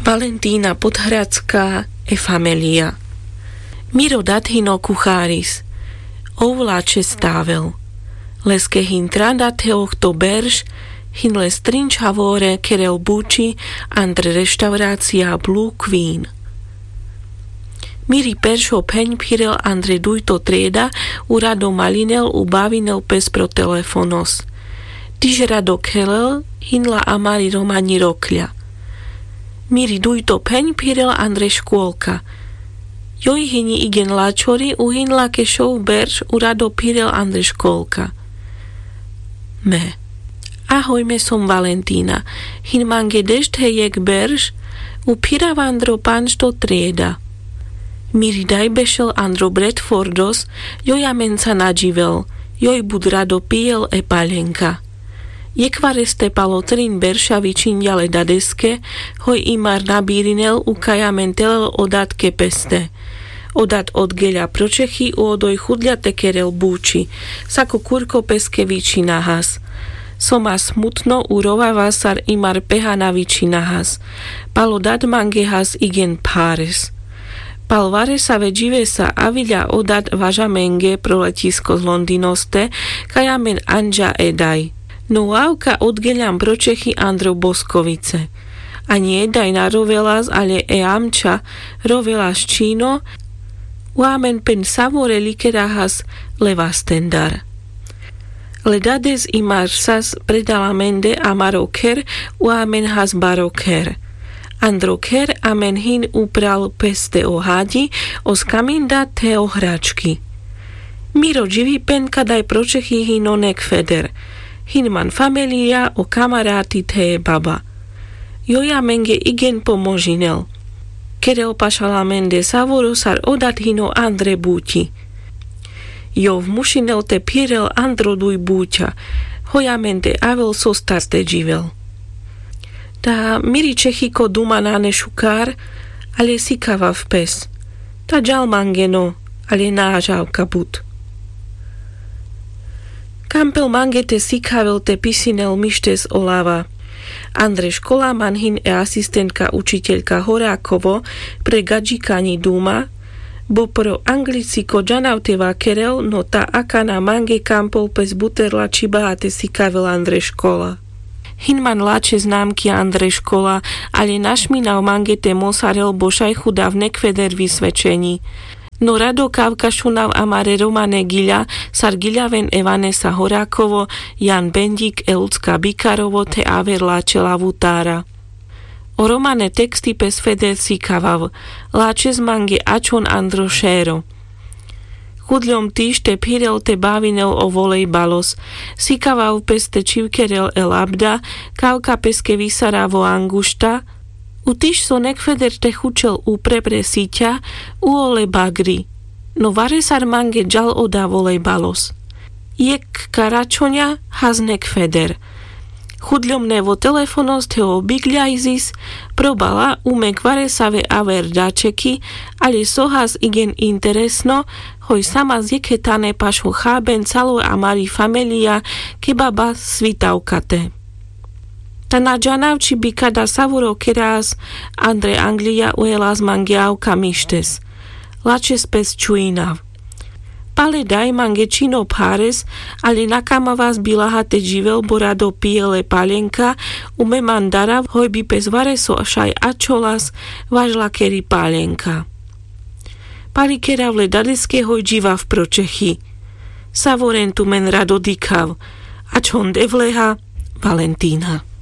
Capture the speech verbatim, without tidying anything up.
Valentína podhradská. E famelija. Miro dad hino kucháris. Ovláčes tável. Leske hin tra dad he ohto berš, hin le strinčhavore kerel buči, andre reštaurácia blukvín. Miri peršo pheň phirel andre dujto trieda. U rado malinel u bavinel pes pro telefonos. Tiš rado khelel, hin la amari romani rokľa. Miri dujto pheň phirel andre škôlka. Joj hini igen lačori u hin la kešov berš u rado phirel andre škôlka. Me. Ahoj, me som valentína. Hin mange dešt he jekh berš. U phirav andro pančto trieda. Miri daj bešel andro bredfordos. Joj amenca na dživel. Joj but rado pijel e paľenka. Jekhvareste pal o trin berša vičinďa le dadeske, hoj imar na birinel u kaj amen telel o datke peste. O dat odgeľa pro čechi u odoj chudľa te kerel buči. Sako kurko peske vičina has. Soma smutno u rovava sar imar peha na vičina has. Pal o dat mange has igen phares. Pal varesave dživesa aviľa o dat važamenge pro leťisko z londinoste, kaj amen anďa e daj. No avka odgeľam pro čechi andro boskovice. Aňi e daj na rovelas ale e amča rovelas čino. U amen pen savore likera has le vastendar. Le dades imar sas predal amende amaro kher. U amen has baro kher. Andro kher amen hin upral peste o haďi, o skaminda te o hrački. Miro dživi pen kadaj pro čechi hino nekfeder. Hin man famelija o kamarati te e baba. Joj amenge igen pomožinel. Kerel pašal amende savoro sar o dat hino andre buťi. Jov mušinel te phirel andro duj buťa. Hoj amende avel sostar te dživel. Ta miri čechiko duma nane šukar. Ale sikavav pes. Ta džal mange no. Ale na ažavka but. Kampel mange te sikavel te pisinel mištes o lava. Andre škola man hin e asistentka učiteľka horakovo pre gadžikaňi duma. Bo pro anglici ko džanav te vakerel no ta akana mange kampel pes buterla čhibá te sikavel andre škola. Hin man lačhe znamki andre škola. Ale našminav mange te mosarel bo šaj chudav nekfeder visvedčeňi. No rado kavka šunav amare romane giľa sar giľaven e vanesa horakovo, jan benďik e lucka bikarovo te aver lačhe lavutára. O romane teksti pes feder sikavav. Lačhes mange ačhon andro šero. Chudľom tiš te phirel te bavinel o volejbalos. Sikavav pes te čhivkerel e labda, kavka peske visaravo angušta. U tiš so nekfeder te chučel upre pre siťa. U ole bagri. No varesar mange džal oda volejbalos. Jekh karačhoňa has nekfeder. Chudľom nevo telefonos te o bigľajzis. Probala umek varesave aver dačeki. Ale so has igen interesno. Hoj samas jekhe tane pašo cháben calo amari famelija, keba ba svitavka te. Ta na džanav či bi kada savoro keras andre anglija. Uhelas mange avka mištes. Lačhes pes čuinav. Pale daj mange čino phares. Ale na kamavas bilaha te dživel bo rado pijel e paľenka. Ume man darav hoj bi pes vareso šaj ačholas važlakeri paľenka. Pali kerav le dadeske hoj dživav pro čechi. Savoren tumen rado dikhav. Ačhon devleha. Valentína.